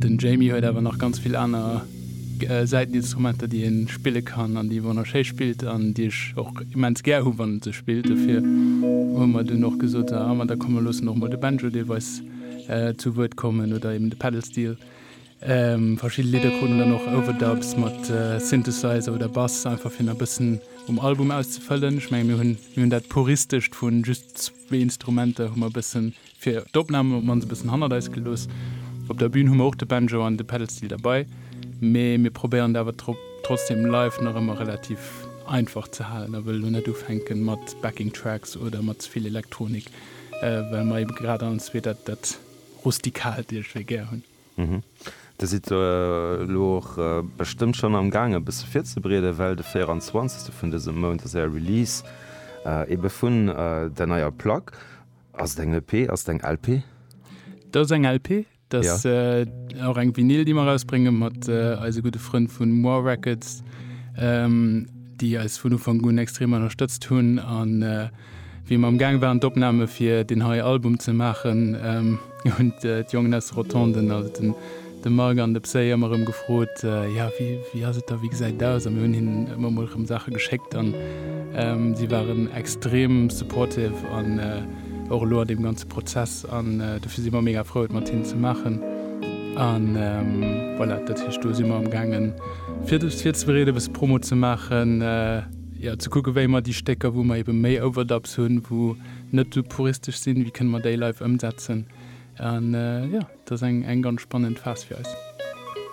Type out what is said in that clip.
Den Jamie huet awer nach ganz vill aner Säiteninstrumenter, déi e spille kann an déi e wonnerschéi spillt an déi ech och immens gär hu wann en se spillt. Dofir hu mer dunn och gesot, ah ma da komm mer loossen och mol de Banjo deelweis zu Wuert kommen oder eben de Pedal Steel. Verschidde Lidder kruten dann och Overdubs mat Synthesizer oder Bass, einfach fir nach e bëssen um Album auszefëllen. Ech menge mir hunn mir hunn dat puristescht vu just zwee Instrumenter hu mer e bëssen fir d'Opnamen op d'mannst e bëssen hannert eis gelooss. Op der Bün hu mer och de Banjo an de Pedal Steel derbei, mee mir probéieren et awer trotzdem live nach ëmmer relativ einfach ze halen a wëlle lo net ufänken mat Backing Tracks oder mat ze vill Elektronik, well mer ebe grad allen zwee dat dat Rustikaalt iergendwéi gär hunn. Dir sidd elo och bestëmmt schonn am Gaang e bësse virzebereeden, well de 24. vun dësem Mount ass Är Release ebe vun der neier Plack. Ass et eng EP, ass et eng LP? Dat ass eng LP, dat ass och eng Vinyl, déi mer erausbrénge mat eise gudde Frënn vu Moore Records, déi eis vun Ufank un extrem ënnerstëtzt hunn. An Wéi mer am Gaang waren d'Opname fir deen hei Album ze maachen, hunn d'Jongen aus de Rotonden, also den de Marc an de Psy, ëmmer erëm gefrot, jo wéi wéi ass et da, wéi gesäit et aus? A mir hunn hinnen ëmmer mol erëm Saache geschéckt an si waren extrem supportive an och elo an deem ganze Prozess an dofir si mer mega frou et mat hinnen ze maachen. An voilà, dat heescht do si mer am gaangen fir eis virzebereeden, e bësse Promo ze maachen. Jo, ze kucken, wéi mer déi Stécker, wou mer ebe méi Overdubs hunn, wou net esou puristesch sinn, wéi kënne mer déi live ëmsetzen. An jo, et ass eng, eng ganz spannend Phas fir eis.